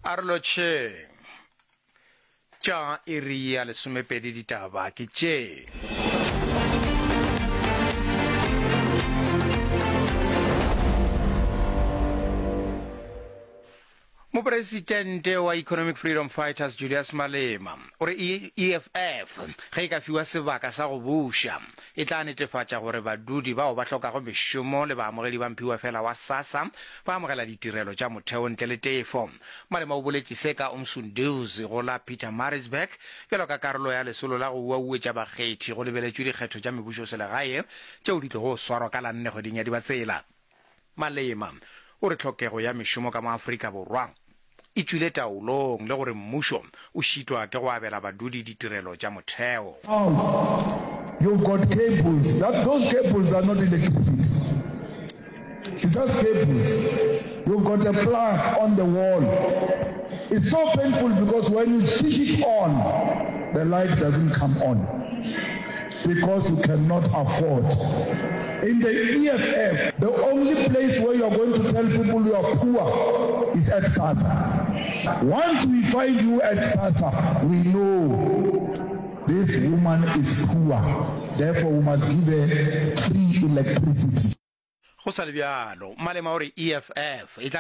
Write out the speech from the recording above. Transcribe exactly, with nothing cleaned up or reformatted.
A re lotšheng. Tša iri ya lesomepedi ditaba ke tše. Mopresidente wa Economic Freedom Fighters Julius Malema o re EFF ge e ka fiwa sebaka sa go buša e tla netefatša gore badudi bao ba hlokago mešomo le baamogedi ba mphiwafela wa SASSA ba amogela ditirelo tša motheo ntle le tefo. Malema o boletše se ka Umsunduzi go la Pietermaritzburg bjalo ka karolo ya lesolo la go uauetša bakgethi go lebeletšwe dikgetho tša mebušoselegae tšeo di tlogo swarwa ka la nne kgweding ya Dibatsela. Malema o re tlhokego ya mešomo ka mo Afrika Borwa e tšwile taolong le gore mmušo o šitwa ke go abela badudi ditirelo tša motheo. House you've got cables that those cables are not electricity it's just cables you've got a plug on the wall it's so painful because when you switch it on the light doesn't come on because you cannot afford in the E_F_F the only place where you are going to tell people you are poor is at SASSA once we find you at SASSA we know this woman is poor therefore we must give her free electricity. Go sa le bjalo, Malema o re E_F_F e tla